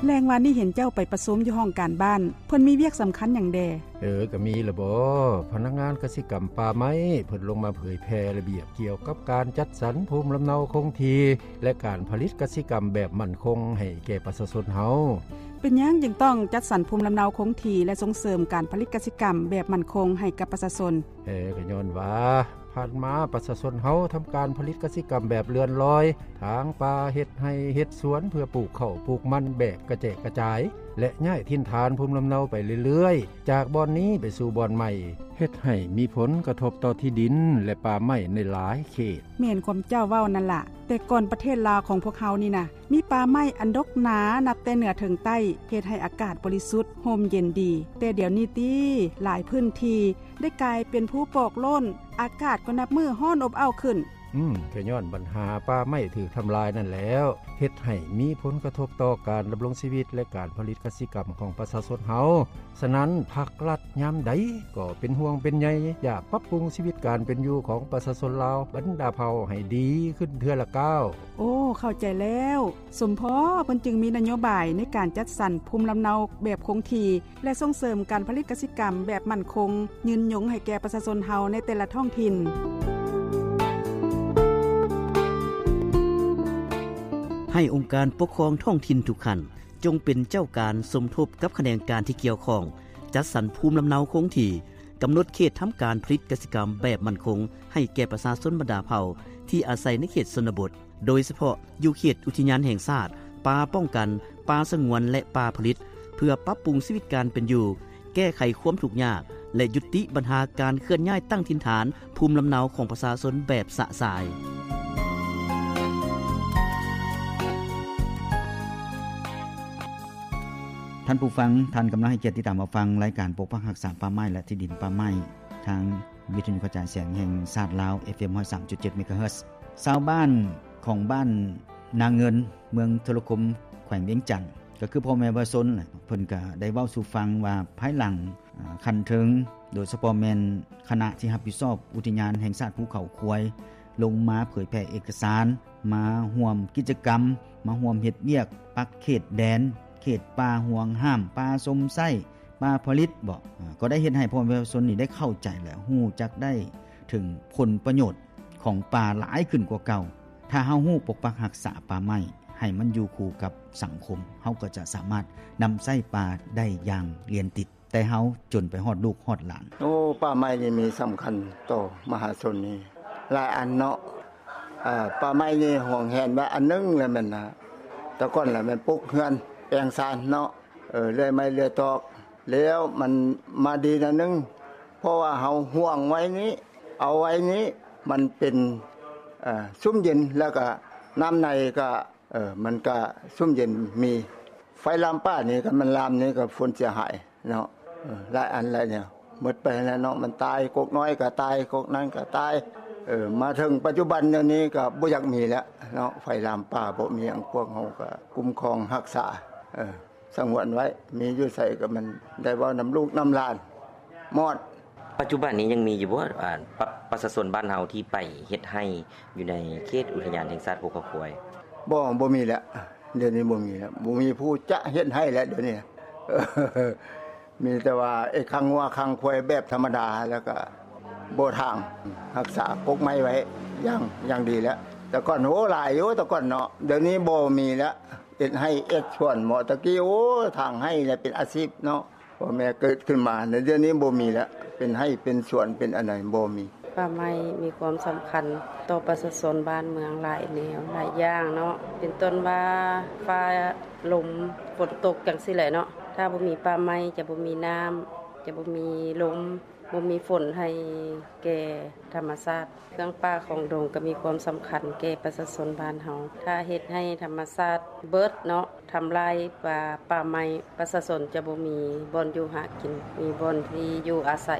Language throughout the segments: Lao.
ແລງວານນີ້ເຫັນເຈົ້າໄປປະຊຸມຢູ່ຫ້ອງການບ້ານ, ເພິ່ນມີວຽກສຳຄັນຫຍັງແດ່? ເອີ, ກໍມີລະບໍ. ພະນັກງານກະສິກຳປ່າໄມ້ ເພິ່ນລົງມາເຜີຍແຜ່ລະບຽບກ່ຽວກັບການຈັດສັນພູມລຳເນົາຄົງທີ່ ແລະ ການຜະລິດກະສິກຳແບບໝັ້ນຄົງໃຫ້ແກ່ປະຊາຊົນເຮົາ. ເປັນຫຍັງຈຶ່ງຕ້ອງຈັດສັນພູມລຳເນົາຄົງທີ່ ແລະ ສົ່ງເສີມການຜະລິດກະສິກຳແບບໝັ້ນຄົງໃຫ້ກັບປະຊາຊົນ? ເອີ, ກໍຍ້ອນວ່າ ຜ່ານມາປະຊາຊົນເຮົາທຳການຜະລິດກະສິກຳແບບເລື່ອນລອຍ, ຖາງປ່າ, ເຮັດໄຮ່ເຮັດສວນເພື່ອປູກເຂົ້າປູກມັນແບບກະແຈກກະຈາຍ ແລະ ຍ້າຍຖິ່ນຖານພູມລຳເນົາໄປເລື້ອຍໆ, ຈາກບ່ອນນີ້ໄປສູ່ບ່ອນໃໝ່, ເຮັດໃຫ້ມີຜົນກະທົບຕໍ່ທີ່ດິນ ແລະ ປ່າໄມ້ໃນຫຼາຍເຂດ. ແມ່ນຄວາມເຈົ້າເວົ້ານັ້ນລະ, ແຕ່ກ່ອນປະເທດລາວຂອງພວກເຮົານີ້ນະ ມີປ່າໄມ້ອັນດົກໜານັບແຕ່ເໜືອເຖິງໃຕ້, ເຮັດໃຫ້ອາກາດບໍລິສຸດ, ຮົ່ມເຢັນດີ. ແຕ່ດຽວນີ້ຕິ, ຫຼາຍພື້ນທີ່ໄດ້ກາຍເປັນພູປອກໂລ້ນ, ອາກາດກໍນັບມື້ຮ້ອນອົບອ້າວຂຶ້ນ. ອືມ, ກໍຍ້ອນບັນຫາປ່າໄມ້ຖືກທຳລາຍນັ້ນແຫຼ້ວ, ເຮັດໃຫ້ມີຜົນກະທົບຕໍ່ການດຳລົງຊີວິດ ແລະ ການຜະລິດກະສິກຳຂອງປະຊາຊົນເຮົາ. ສະນັ້ນ, ພັກລັດຍາມໃດກໍເປັນຫ່ວງເປັນໃຍ, ຢາກປັບປຸງຊີວິດການເປັນຢູ່ຂອງປະຊາຊົນລາວບັນດາເຜົ່າໃຫ້ດີຂຶ້ນເທື່ອລະກ້າວ. ໂອ້, ເຂົ້າໃຈແລ້ວ. ສົມພໍເພິ່ນຈຶ່ງມີນະໂຍບາຍໃນການຈັດສັນພູມລຳເນົາແບບຄົງທີ່ ແລະ ສົ່ງເສີມການຜະລິດກະສິກຳແບບໝັ້ນຄົງ, ຍືນຍົງໃຫ້ແກ່ປະຊາຊົນເຮົາໃນແຕ່ລະທ້ອງຖິ່ນ. ໃຫ້ອົງການປົກຄອງທ້ອງຖິ່ນທຸກຂັ້ນ ຈົ່ງເປັນເຈົ້າການສົມທົບກັບຂະແໜງການທີ່ກ່ຽວຂ້ອງ, ຈັດສັນພູມລຳເນົາຄົງທີ່, ກຳນົດເຂດທຳການຜະລິດກະສິກຳແບບໝັ້ນຄົງໃຫ້ແກ່ປະຊາຊົນບັນດາເຜົ່າທີ່ອາໄສໃນເຂດຊົນນະບົດ, ໂດຍສະເພາະຢູ່ເຂດອຸທິຍານແຫ່ງຊາດ, ປ່າປ້ອງກັນ, ປ່າສະຫງວນ ແລະ ປ່າຜະລິດ, ເພື່ອປັບປຸງຊີວິດການເປັນຢູ່, ແກ້ໄຂຄວາມທຸກຍາກ ແລະ ຍຸຕິບັນຫາການເຄື່ອນຍ້າຍຕັ້ງຖິ່ນຖານພູມລຳເນົາຂອງປະຊາຊົນແບບຊະຊາຍ. ທ່ານຜູ້ຟັງ, ທ່ານກຳລັງໃຫ້ກຽດຕິດຕາມຮັບຟັງລາຍການປົກປັກຮັກສາປ່າໄມ້ ແລະ ທີ່ດິນປ່າໄມ້ ທາງວິທະຍຸກະຈາຍສຽງແຫ່ງຊາດລາວ ເອັຟເອັມ ຮ້ອຍສາມຈຸດເຈັດ ເມກາເຮີດ. ຊາວບ້ານຂອງບ້ານນາເງິນ ເມືອງໂທລະຄົມ ແຂວງວຽງຈັນ ກໍຄືພໍ່ແມ່ປະຊາຊົນແຫຼະ, ເພິ່ນກໍໄດ້ເວົ້າສູ່ຟັງວ່າ ພາຍຫຼັງ ອາ ຂັ້ນເທິງ ໂດຍສະເພາະແມ່ນຄະນະທີ່ຮັບຜິດຊອບອຸທິຍານແຫ່ງຊາດພູເຂົາຄວາຍ ລົງມາເຜີຍແຜ່ເອກະສານ, ມາຮ່ວມກິດຈະກຳ, ມາຮ່ວມເຮັດວຽກປັກເຂດແດນ, ເຂດປ່າຫວງຫ້າມ, ປ່າຊົມໃຊ້, ປ່າຜະລິດເບາະ, ອາ ກໍໄດ້ເຮັດໃຫ້ພໍ່ແມ່ປະຊາຊົນນີ້ໄດ້ເຂົ້າໃຈ ແລະ ຮູ້ຈັກໄດ້ເຖິງຜົນປະໂຫຍດຂອງປ່າຫຼາຍຂຶ້ນກວ່າເກົ່າ. ຖ້າເຮົາຮູ້ປົກປັກຮັກສາປ່າໄມ້ໃຫ້ມັນຢູ່ຄູ່ກັບສັງຄົມ, ເຮົາກໍຈະສາມາດນຳໃຊ້ປ່າໄດ້ຢ່າງລຽນຕິດ ແຕ່ເຮົາຈົນໄປຮອດລູກຮອດຫຼານ. ໂອ້, ປ່າໄມ້ນີ້ມີສຳຄັນຕໍ່ມະຫາຊົນນີ້ຫຼາຍອັນເນາະ. ອາ, ປ່າໄມ້ນີ້ຫວງແຫນໄວ້ອັນໜຶ່ງແລ້ວແມ່ນນະ, ແຕ່ກ່ອນລະແມ່ນປຸກເຮືອນແປງຊານເນາະ, ເອີ, ເລື່ອຍໄມ້ເລື່ອຍຕອກ, ແລ້ວມັນມາດີໜ້ອຍໜຶ່ງ ເພາະວ່າເຮົາຫວງໄວ້ນີ້, ເອົາໄວ້ນີ້, ມັນເປັນ, ເອີ, ຊຸ່ມເຢັນ, ແລ້ວກະນ້ຳໃນກະ, ເອີ, ມັນກະຊຸ່ມເຢັນ, ມີໄຟລາມປ່ານີ້, ຄັນມັນລາມນີ້ກະຜົນເສຍຫາຍເນາະ, ເອີ, ຫຼາຍອັນຫຼາຍແນວ ໝົດໄປແລ້ວເນາະ, ມັນຕາຍ, ກົກນ້ອຍກະຕາຍ, ກົກນັ້ນກະຕາຍ, ເອີ, ມາເຖິງປັດຈຸບັນດຽວນີ້ກະບໍ່ຢາກມີແລ້ວເນາະ, ໄຟລາມປ່າບໍ່ມີຫຍັງ, ພວກເຮົາກະຄຸ້ມຄອງຮັກສາ, ເອີ. ສະຫງວນໄວ້, ມີຢູ່ໃສກໍມັນໄດ້ເວົ້ານຳລູກນຳຫຼານໝົດ. ປັດຈຸບັນນີ້ຍັງມີຢູ່ບໍ່ ອາ ປະ ປະຊາຊົນບ້ານເຮົາທີ່ໄປເຮັດໄຮ່ຢູ່ໃນເຂດອຸທິຍານແຫ່ງຊາດພູເຂົາຄວາຍ? ບໍ່, ບໍ່ມີແລ້ວ, ດຽວນີ້ບໍ່ມີແລ້ວ, ບໍ່ມີຜູ້ຈະເຮັດໄຮ່ແລ້ວດຽວນີ້. ມີແຕ່ວ່າເຮັດຄັງງົວຄັງຄວາຍແບບທຳມະດາ ແລ້ວກໍບໍ່ຖາງ, ຮັກສາກົກໄມ້ໄວ້ຢ່າງ, ຢ່າງດີແລ້ວ. ແຕ່ກ່ອນ, ໂອ້, ຫຼາຍຢູ່ແຕ່ກ່ອນເນາະ, ດຽວນີ້ບໍ່ມີແລ້ວ. ເຮັດໄຮ່ເຮັດສວນເໝາະ, ຕະກີ້, ໂອ້, ຖາງໄຮ່ແຫຼະເປັນອາຊີບເນາະ, ພໍ່ແມ່ເກີດຂຶ້ນມາ, ດຽວນີ້ບໍ່ມີແລ້ວ, ເປັນໄຮ່ເປັນສວນເປັນອັນໃດບໍ່ມີ. ປ່າໄມ້ມີຄວາມສຳຄັນຕໍ່ປະຊາຊົນບ້ານເມືອງຫຼາຍແນວຫຼາຍຢ່າງເນາະ, ເປັນຕົ້ນວ່າຟ້າລົມຝົນຕົກຈັ່ງຊີ້ແຫຼະເນາະ, ຖ້າບໍ່ມີປ່າໄມ້ຈະບໍ່ມີນ້ຳ, ຈະບໍ່ມີລົມ, ບໍ່ມີຝົນໃຫ້ແກ່ທຳມະຊາດ. ເຄື່ອງປ່າຂອງດົງກໍມີຄວາມສຳຄັນແກ່ປະຊາຊົນບ້ານເຮົາ. ຖ້າເຮັດໃຫ້ທຳມະຊາດເບີດເນາະ, ທຳລາຍປ່າ, ປ່າໄມ້, ປະຊາຊົນຈະບໍ່ມີບ່ອນຢູ່ຫາກິນ, ມີບ່ອນທີ່ຢູ່ອາໄສ.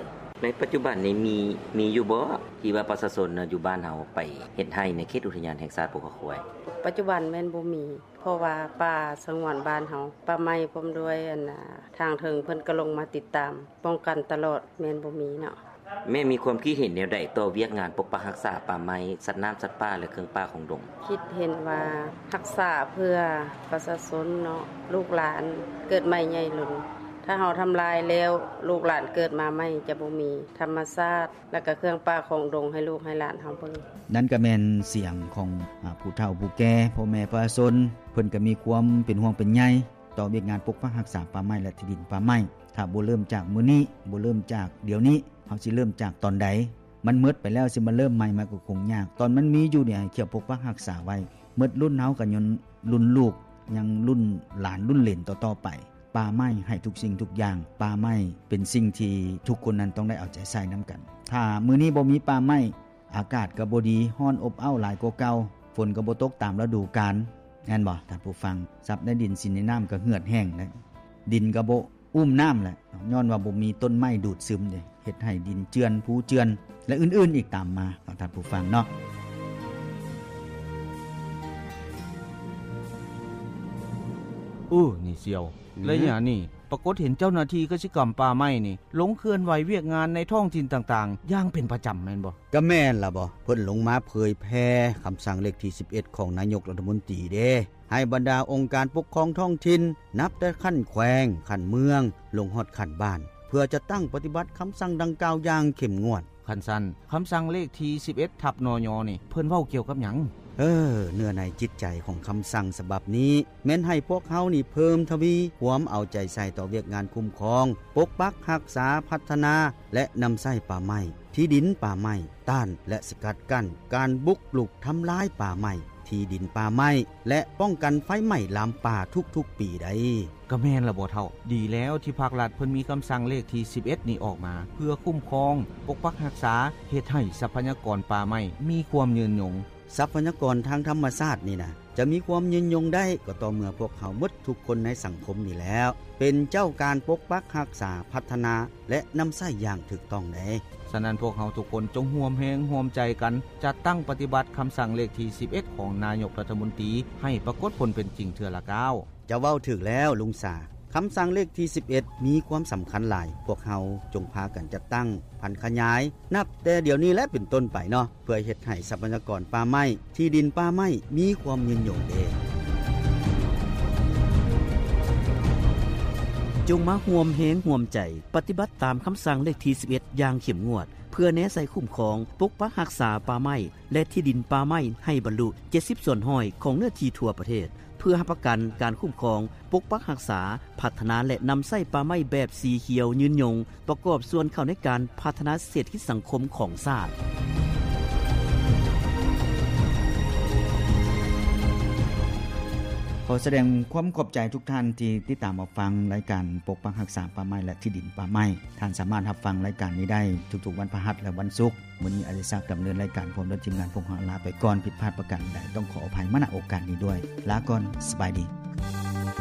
ໃນປັດຈຸບັນນີ້ມີ, ມີຢູ່ບໍ່ ທີ່ວ່າປະຊາຊົນຢູ່ບ້ານເຮົາໄປເຮັດໄຮ່ໃນເຂດອຸທິຍານແຫ່ງຊາດພູເຂົາຄວາຍ? ປັດຈຸບັນແມ່ນບໍ່ມີ, ເພາະວ່າປ່າສະຫງວນບ້ານເຮົາ, ປ່າໄມ້ ພ້ອມດ້ວຍ ອັນ ທາງເທິງເພິ່ນກໍລົງມາຕິດຕາມ ປ້ອງກັນຕະຫຼອດ, ແມ່ນບໍ່ມີເນາະ. ແມ່ມີຄວາມຄິດເຫັນແນວໃດຕໍ່ວຽກງານປົກປັກຮັກສາປ່າໄມ້, ສັດນ້ຳ, ສັດປ່າ ແລະ ເຄື່ອງປ່າຂອງດົງ? ຄິດເຫັນວ່າຮັກສາເພື່ອປະຊາຊົນເນາະ, ລູກຫຼານເກີດໃໝ່ໃຫຍ່ລຸນ, ຖ້າເຮົາທຳລາຍແລ້ວ ລູກຫຼານເກີດມາໃໝ່ຈະບໍ່ມີທຳມະຊາດ ແລະ ກະເຄື່ອງປ່າຂອງດົງໃຫ້ລູກໃຫ້ຫຼານເຮົາເບິ່ງ. ນັ້ນກະແມ່ນສຽງຂອງ ອາ ຜູ້ເຖົ້າຜູ້ແກ່, ພໍ່ແມ່ປະຊາຊົນ, ເພິ່ນກະມີຄວາມເປັນຫ່ວງເປັນໃຍ ຕໍ່ວຽກງານປົກປັກຮັກສາປ່າໄມ້ ແລະ ທີ່ດິນປ່າໄມ້. ຖ້າບໍ່ເລີ່ມຈາກມື້ນີ້, ບໍ່ເລີ່ມຈາກດຽວນີ້, ເຮົາຊິເລີ່ມຈາກຕອນໃດ? ມັນໝົດໄປແລ້ວ ຊິມາເລີ່ມໃໝ່ ມັນກໍຄົງຍາກ. ຕອນມັນມີຢູ່ນີ້ ໃຫ້ເຂົາປົກປັກຮັກສາໄວ້. ໝົດລຸ້ນເຮົາກໍຍ້ອນລຸ້ນລູກ, ຍັງລຸ້ນຫຼານ, ລຸ້ນເຫຼນຕໍ່ໆໄປ. ປ່າໄມ້ໃຫ້ທຸກສິ່ງທຸກຢ່າງ. ປ່າໄມ້ເປັນສິ່ງທີ່ທຸກຄົນນັ້ນຕ້ອງໄດ້ເອົາໃຈໃສ່ນຳກັນ. ຖ້າມື້ນີ້ບໍ່ມີປ່າໄມ້, ອາກາດກໍບໍ່ດີ, ຮ້ອນອົບເອົ້າຫຼາຍກວ່າເກົ່າ, ຝົນກໍບໍ່ຕົກຕາມລະດູການ, ແມ່ນບໍ່ທ່ານຜູ້ຟັງ? ຊັບໃນດິນ, ສິນໃນນ້ຳກໍເຫືອດແຫ້ງແລ້ວ, ດິນກໍບໍ່ອຸ້ມນ້ຳແລ້ວ, ຍ້ອນວ່າບໍ່ມີຕົ້ນໄມ້ດູດຊຶມເດ້, ເຮັດໃຫ້ດິນເຈື່ອນ, ພູເຈື່ອນ ແລະ ອື່ນໆອີກຕາມມາເນາະ ທ່ານຜູ້ຟັງເນາະ. ເອີ ນີ້ສ່ຽວ, ໄລຍະນີ້ປາກົດເຫັນເຈົ້າໜ້າທີ່ກະສິກຳປ່າໄມ້ນີ້ ລົງເຄື່ອນໄຫວວຽກງານໃນທ້ອງຖິ່ນຕ່າງໆຢ່າງເປັນປະຈຳແມ່ນບໍ່? ກະແມ່ນລະບໍ, ເພິ່ນລົງມາເຜີຍແຜ່ຄຳສັ່ງເລກທີສິບເອັດຂອງນາຍົກລັດຖະມົນຕີເດ້, ໃຫ້ບັນດາອົງການປົກຄອງທ້ອງຖິ່ນ ນັບແຕ່ຂັ້ນແຂວງ, ຂັ້ນເມືອງ, ລົງຮອດຂັ້ນບ້ານ ເພື່ອຈັດຕັ້ງປະຕິບັດຄຳສັ່ງດັ່ງກ່າວຢ່າງເຂັ້ມງວດ. ຄັນຊັ້ນ ຄຳສັ່ງເລກທີສິບເອັດ ທັບ ນຍ ນີ້ ເພິ່ນເວົ້າກ່ຽວກັບຫຍັງ? ເອີ ເນື້ອໃນຈິດໃຈຂອງຄຳສັ່ງສະບັບນີ້ ແມ່ນໃຫ້ພວກເຮົານີ້ເພີ່ມທະວີຄວາມເອົາໃຈໃສ່ຕໍ່ວຽກງານຄຸ້ມຄອງ, ປົກປັກຮັກສາ, ພັດທະນາ ແລະ ນຳໃຊ້ປ່າໄມ້, ທີ່ດິນປ່າໄມ້, ຕ້ານ ແລະ ສະກັດກັ້ນການບຸກລຸກທຳລາຍປ່າໄມ້, ທີ່ດິນປ່າໄມ້ ແລະ ປ້ອງກັນໄຟໄໝ້ລາມປ່າທຸກໆປີໃດ໋. ກະແມ່ນລະບໍເຖົ້າ? ດີແລ້ວທີ່ພາກລັດເພິ່ນມີຄຳສັ່ງເລກທີສິບເອັດນີ້ອອກມາ ເພື່ອຄຸ້ມຄອງ, ປົກປັກຮັກສາ, ເຮັດໃຫ້ຊັບພະຍາກອນປ່າໄມ້ມີຄວາມຍືນຍົງ. ຊັບພະຍາກອນທາງທຳມະຊາດນີ້ນະ ຈະມີຄວາມຍືນຍົງໄດ້ ກໍຕໍ່ເມື່ອພວກເຮົາໝົດທຸກຄົນໃນສັງຄົມນີ້ແຫຼ້ວ ເປັນເຈົ້າການປົກປັກຮັກສາ, ພັດທະນາ ແລະ ນຳໃຊ້ຢ່າງຖືກຕ້ອງເດ້. ສະນັ້ນ ພວກເຮົາທຸກຄົນຈົ່ງຮ່ວມແຮງຮ່ວມໃຈກັນ ຈັດຕັ້ງປະຕິບັດຄຳສັ່ງເລກທີສິບເອັດ ຂອງນາຍົກລັດຖະມົນຕີ ໃຫ້ປາກົດຜົນເປັນຈິງເທື່ອລະກ້າວ. ເຈົ້າເວົ້າຖືກແລ້ວລຸງສາ, ຄຳສັ່ງເລກທີສິບເອັດ ມີຄວາມສຳຄັນຫຼາຍ. ພວກເຮົາຈົ່ງພາກັນຈັດຕັ້ງ, ຜັນຂະຫຍາຍ ນັບແຕ່ດຽວນີ້ແລະເປັນຕົ້ນໄປເນາະ ເພື່ອເຮັດໃຫ້ຊັບພະຍາກອນປ່າໄມ້, ທີ່ດິນປ່າໄມ້ ມີຄວາມຍືນຍົງເດ້. ຈົ່ງມາຮ່ວມແຮງຮ່ວມໃຈປະຕິບັດຕາມຄຳສັ່ງເລກທີສິບເອັດ ຢ່າງເຂັ້ມງວດ ເພື່ອແນໃສ່ຄຸ້ມຄອງ, ປົກປັກຮັກສາປ່າໄມ້ ແລະ ທີ່ດິນປ່າໄມ້ໃຫ້ບັນລຸເຈັດສິບສ່ວນຮ້ອຍຂອງເນື້ອທີ່ທົ່ວປະເທດ, ເພື່ອຮັບປະກັນການຄຸ້ມຄອງ, ປົກປັກຮັກສາ, ພັດທະນາ ແລະ ນຳໃຊ້ປ່າໄມ້ແບບສີຂຽວຍືນຍົງ, ປະກອບສ່ວນເຂົ້າໃນການພັດທະນາເສດຖະກິດສັງຄົມຂອງຊາດ. ຂໍສະແດງຄວາມຂອບໃຈທຸກທ່ານທີ່ຕິດຕາມຮັບຟັງລາຍການປົກປັກຮັກສາປ່າໄມ້ ແລະ ທີ່ດິນປ່າໄມ້. ທ່ານສາມາດຮັບຟັງລາຍການນີ້ໄດ້ທຸກໆວັນພະຫັດ ແລະ ວັນສຸກ. ມື້ນີ້ອາດອິດສັກດຳເນີນລາຍການ ພ້ອມດ້ວຍທີມງານພວກເຮົາລາໄປກ່ອນ. ຜິດພາດປະການໃດ ຕ້ອງຂໍອະໄພມາ ນະ ໂອກາດນີ້ດ້ວຍ. ລາກ່ອນ, ສະບາຍດີ.